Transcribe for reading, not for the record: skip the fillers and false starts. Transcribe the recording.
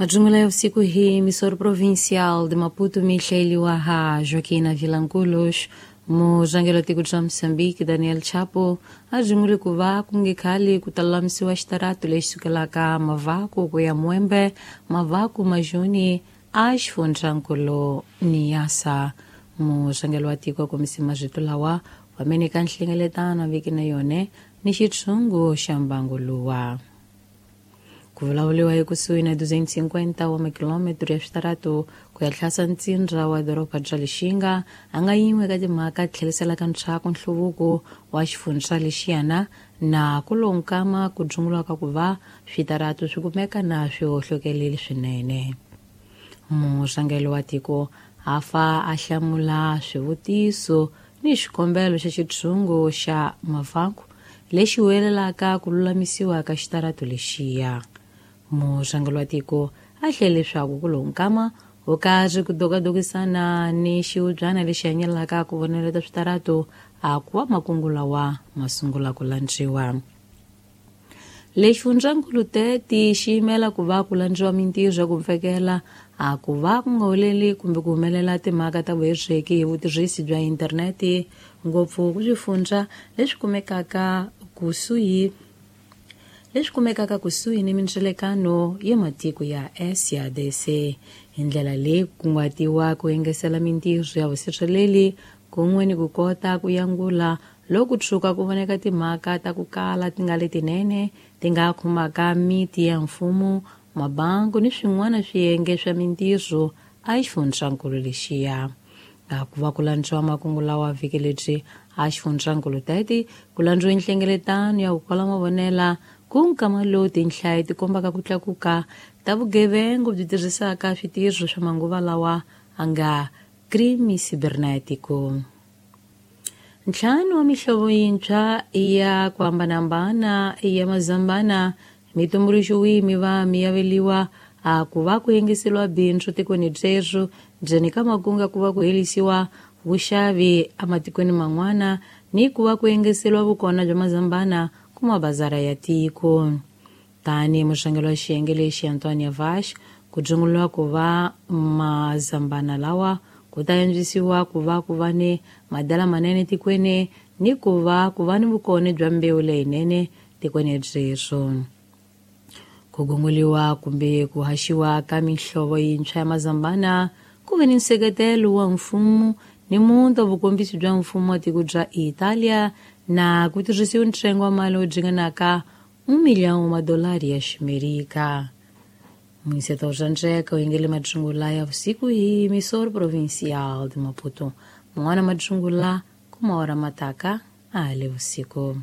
Majungula ya usiku hii, emissora provincial de Maputo mihleliwa ha Joaquina Vilanculos, muzangelo tiko bya Moçambique Daniel Chapo a ku va ku nge khali ku ta lulamisiwa xitarato lexi sukelaka Mavaku ku ya Mwembe, Mavaku Majuni a xifundzankulu Niassa. Muzangelo wa tiko a kombise marito lawa wamene ka nhlengeletano viki na yone ni xitshungu xa mbangu luwa. Ku vulavuriwa ekusuhi na 250 wa makilometro ya switarato ku ya tlhasa ntsindza wa doroba bya Lixinga a nga yin'we ka timhaka tlheliselaka ntshaku nhluvuko wa xifundza lexiyana na ku lonkama ku dzungulaka ku va switarato swi kumeka na swi hohlokeleli swinene. Murhangeri wa tiko a fa a hlamula swivutiso ni xikombelo xa xitshungu xa Mavaku lexi huwelelaka ku lulamisiwa ka xitarato lexiya. Murhangeri wa tiko a hlele leswaku ku lonkama wo karhi ku dokadokisana ni xiubyana lexi hanyelaka ku voneleta switarato a ku va makungu lawa ma sungula ku landziwa. Lexifundzankulu teti xi yimela ku va ku landziwa mintirho ya ku pfekela a ku va ku nga holeli kumbe ku humelela timhaka ta vuhetseki hi vutirhisi bya internete ngopfu ku swifundza leswi kumekaka kusuhi ni mindzelekano ya matiko ya SADC. Hi ndlela leyi ku kunguhatiwa ku engesela mintirho ya vusirheleli kun'we ni ku kota ku yangula loko tshuka ku voneka timhaka ta ku kala ti nga letinene ti nga khumbaka miti ya mfumo, mabangu ni swin'wana swiyenge swa mintirho a xifundzankulu lexiya. Ku va ku landziwa makungu lawa vhiki lebyi a xifundzankulu teti ku landziwe nhlengeletano ya ku kwala mavonela ku nkama lowu tinhlayo ti kombaka ku tlakuka ta vugevenga byi tirhisaka switirho swa manguva lawa a nga crime cibernetico. Ntlhanu wa mihlovo yintshwa ya ku hambanahambana ya mazambana mi tumbuluxiwi mi va mi yaveliwa a ku va ku yengiseliwa bindzu tikweni byebyo ndzeni ka makunga ku va ku helisiwa vuxavi ematikweni man'wana ni ku va ku yengiseliwa vukona bya mazambana ku mabazara ya tiko. Tani murhangeri wa xiyenge lexi Antonia Vash ku dzunguliwa ku va mazambana lawa ku ta antswisiwa ku va ku va ni madala manene tikweni ni ku va ku va ni vukona bya mbewu leyinene tikweni byebyo. Ku gunguliwa kumbe ku haxiwa ka mihlovo yintshwa ya mazambana ku ve ni nseketelo wa mfumo ni muti wa vukombisi bya mfumo wa tiko bya Italia na ku tirhisiwa ntsengo wa mali wo dzinganaka $1 milhão wa madolari ya Ximerika. Muniseta wa Ndzeka u yingele madzungula ya vusiku hi emissora provincial de Maputo. Man'wana madzungula ku maora mataka a le vusiku.